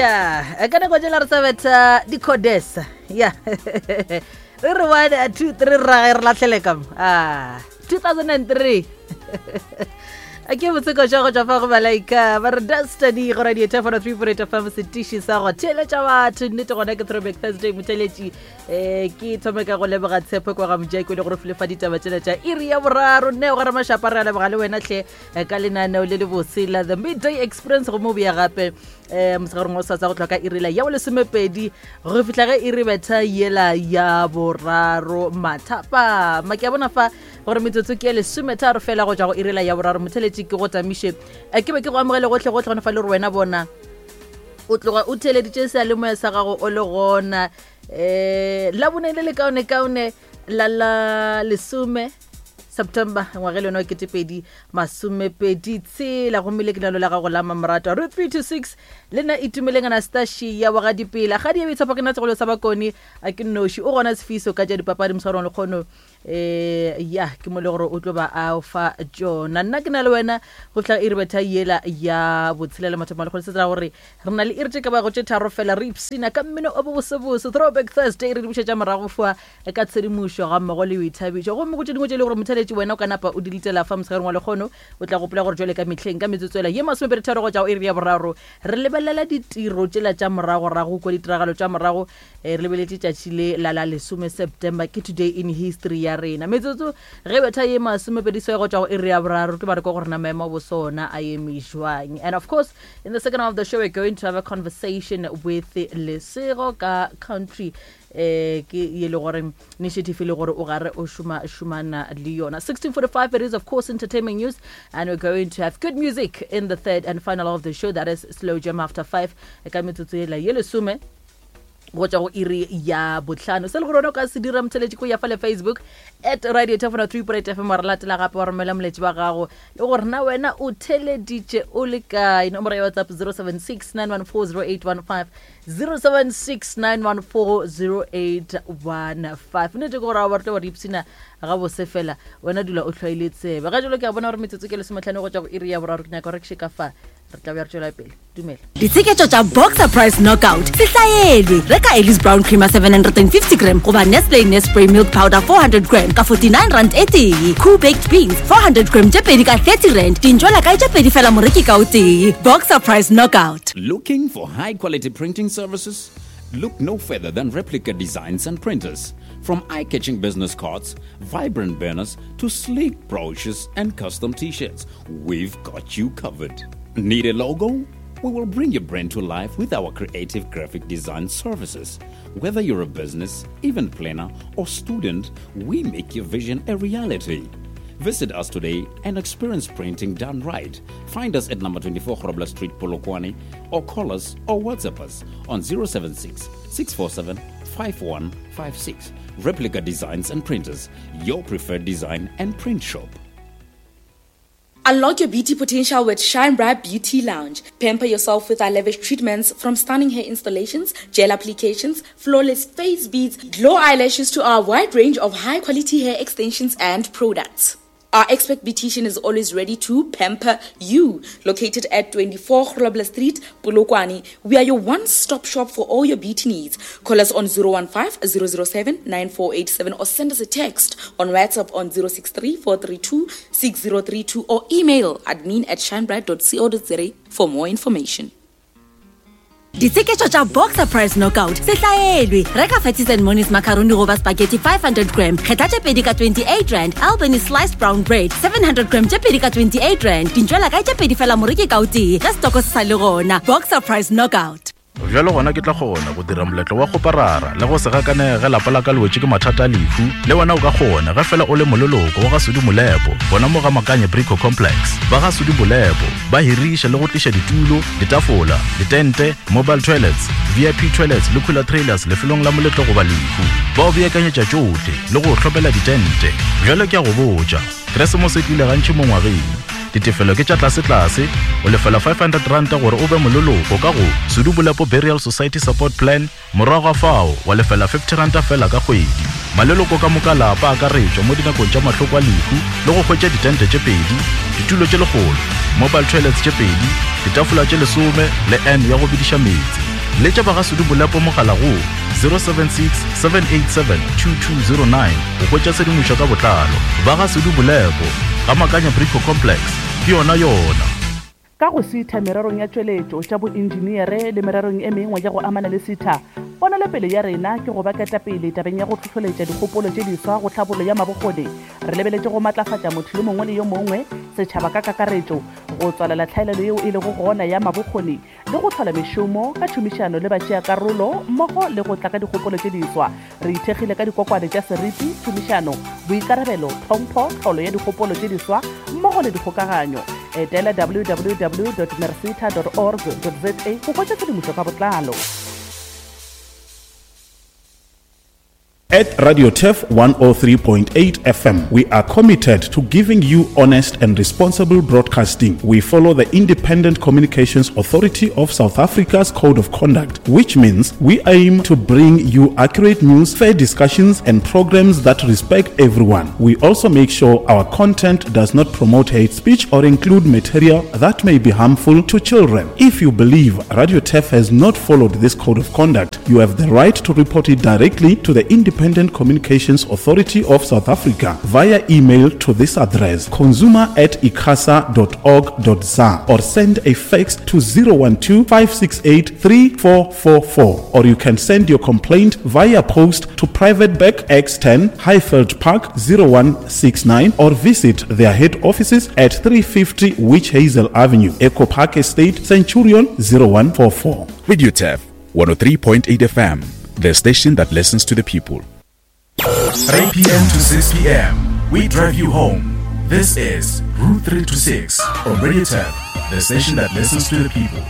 Ya, ka nako tšela re sa betha di-codesa. Ya. Re re 1 2 3 ra re lahlele ka mo. Ah, 2003. A ke botseko tša go tšwa fa go Malaika ba re Destiny go radio 10.3.8 FM setiši sa go theeletša batho nnete gona ke Throwback Thursday motheletši eh ke thome ka go leboga tshepo kwa ga mojako le gore file fa ditaba tšela tša iri ya boraro nne go ramašapa re a leboga le wena hle eh, ka lenaneo le le bose la the midday experience go mo boya gape um mosegareng wa sasa go tloga ka irela ya bolesomepedi go fihla ge iri betha yela ya boraro mathapama ke a bona fa gore metsotso ke ya lesometharo fela go tšwa go irela ya boraro motheletši ke go tamiše eh, ke be ke go amogele gotlhe gotlhe gone fa le gore wena bona o tloga o theleditše seyalemoya sa gago o le gona um labone le le kaone kaone la la lesome september ngwage le yona wa ketepedi masomepedi tshela gomme le ke nalo la gago la mamoratwa re 3 to 6 le nna itumeleng anastasia wa ga dipela ga di etshepo ke nna segolo sa bakone a ke nnoši o gona sefiso ka tša dipapadi moswarong lekgono um ya ke mo le gore o tlo ba a fa tšona nna ke na le wena go fihla iri betha yela ya botshelela mathomo a lekgono se tsela gore re na le iri tše ka bago tše tharo fela re ipsina ka mmino o bobosebose throwback thursday re di bušetša morago foa ka tshedimošo gammogo le boithabišo. Gomme go tše dingwe tše e le gore motheeletši wena o ka napa o di letela fa motshegareng wa lekgono, o tla gopola gore jwale ka mehleng ka metsotswela ye masomepeditharo go tša go iri ya boraro re lebelela ditiro tšela tša moragorago kua ditiragalo tša morago eh, re lebeletše tšatši le la la lesome September ke today in history ya rena. Metsotso ge betha ye masomepedi swae go tšwa go iri ya boraro tlo ba re kwa gore na maemo a boso ona a eme jwang. And of course in the second half of the show we're going to have a conversation with Lesego ka country eh ke ye le gore initiative e le gore o gare o šoma šomana le yona. 16:45 it is of course entertainment news, and we're going to have good music in the third and final of the show, that is slow jam after 5 ka metsotso yela ye lesome go tšwa go iri ya bohlano. Se le gore wena o ka se dira motheletši ko ya fa le Facebook at radio 10.3 fm wa re latela gape wa romela moletši wa gago le gore na wena o theleditše o le kae. Nomoro ya WhatsApp 076 914 0815 0769140815. Nnete ke gore a ba re tlo ba re ipshina gabose fela wena dula o hlwaile tsebe. Ga jalo ke a bona gore metsotso ke lesometlhano go tšwa go iri ya boraro, ke nyaka gore ke še ka fa re tla bja re tšwela pele. Dumela. Ditsheketšo tša Boxer Price Knockout se hlaelwe. Reka Ellis Brown Creamer 750 gram goba Nestle Nespray Milk Powder 400 gram ka 49 rand e tee. Cool Baked Beans 400 gram tše pedi ka 30 rand. Dintšwela kae tše pedi fela moreki ka o tee. Boxer Price Knockout. Looking for high quality printing services? Look no further than Replica Designs and Printers. From eye-catching business cards, vibrant banners, to sleek brochures and custom t-shirts, we've got you covered. Need a logo? We will bring your brand to life with our creative graphic design services. Whether you're a business, event planner, or student, we make your vision a reality. Visit us today and experience printing done right. Find us at number 24 Grobler Street, Polokwane, or call us or WhatsApp us on 076 647 5156. Replica Designs and Printers, your preferred design and print shop. Unlock your beauty potential with Shine Bright Beauty Lounge. Pamper yourself with our lavish treatments, from stunning hair installations, gel applications, flawless face beads, glow eyelashes to our wide range of high-quality hair extensions and products. Our expert beautician is always ready to pamper you. Located at 24 Grobler Street, Polokwane, we are your one-stop shop for all your beauty needs. Call us on 015-007-9487 or send us a text on WhatsApp on 063-432-6032 or email admin at shinebright.co.za for more information. Ditsheketšo tša Boxer Price Knockout se hlaelwe. Reka Fatties and Monies macaroni goba spaghetti 500 gram, kgetha tše pedi ka 28 rand. Albany sliced brown bread 700 gram tše pedi ka 28 rand. Dintšwela kae tše pedi fela moreki ka o tee ge setoko se sa le gona. Boxer Price Knockout. Bjalo gona ke tla kgona go dira moletlo wa kgoparara le go se gakanege ge lapa la ka le wetše ke mathata a lehu. Le wena o ka kgona ge fela o le moleloko wa ga Sudi Molepo gona mo ga Makanye Brico Complex. Ba ga Sudi Molepo ba hiriša le go tliša ditulo, ditafola, ditente, mobile toilets, VIP toilets le cooler trailers lefelong la moletlo goba lehu. Ba o beakanyetša tšohle le go o hlomela ditente. Bjale ke a go botša, Keresemose e tlile gantši mo ngwageng. Ditefelo ke tša tlasetlase, o lefela R500 gore o be moleloko ka go Sudu Bolepo Burial Society Support Plan, morago ga fao wa lefela R50 fela ka kgwedi. Maleloko ka moka lapa a akaretšwa mo dinakong tša mahloko a lehu le go hwetša ditente tše pedi, ditulo tše lekgolo, mobile toilets tše pedi, ditafola tše lesome le urn ya go bediša meetse. Letša ba ga Sudu Bolepo mogala go 076 787 2209 go hwetša tshedimošo ka botlalo. Ba ga Sudu Bolepo, ga Makanya Brico Complex, ke yona yona. Ka go sitha mererong ya tšweletšo, tša boentšeneere le mererong e mengwe ya go amana le sitha, ponelopele ya rena ke go ba ketapele tabeng ya go hlohloletša dikgopolo tše diswa go tlhabollo ya mabokgoni. Re lebeletše go matlafatša motho yo mongwe le yo mongwe, setšhaba ka kakaretšo, go tswalela tlhaelelo yeo e lego gona ya mabokgoni le go hlola mešomo ka tšhomišano le batšeakarolo mmogo le go tla ka dikgopolo tše diswa. Re ithekgile ka dikokwane tša seriti, tšhomišano, boikarabelo, tlhompho, tlholo ya dikgopolo tše diswa mmogo le dikgokaganyo. Etela www dot mercita dot org dot za go hwetša tshedimošo ka botlalo. At Radio Turf 103.8 FM, we are committed to giving you honest and responsible broadcasting. We follow the Independent Communications Authority of South Africa's Code of Conduct, which means we aim to bring you accurate news, fair discussions, and programs that respect everyone. We also make sure our content does not promote hate speech or include material that may be harmful to children. If you believe Radio Turf has not followed this code of conduct, you have the right to report it directly to the Independent Communications Authority of South Africa via email to this address consumer at icasa.org.za or send a fax to 012 568 3444 or you can send your complaint via post to Private Bank X10 Highveld Park 0169 or visit their head offices at 350 Witch Hazel Avenue, Echo Park Estate, Centurion 0144. Radio Turf 103.8 FM, the station that listens to the people. 3 p.m. to 6 p.m., we drive you home. This is Route 3 to 6 on Radio Turf, the station that listens to the people.